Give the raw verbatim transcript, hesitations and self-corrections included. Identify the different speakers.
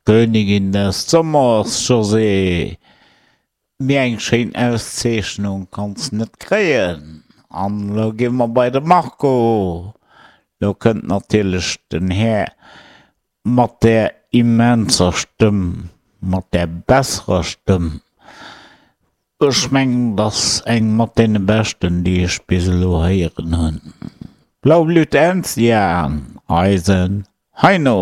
Speaker 1: Königin des Sommers, Josée! Méi eng schéin Auszeechnung kanns net kréien. An elo gi mer bei de Marco. Lo kënnt natierlech den Här mat där immenser Stëmm, mat där besserer Stëmm. Ech mengen, et ass eng mat deene beschten, déi ech bis elo héieren hunn. Blaublüte Enzian, eisen Heino!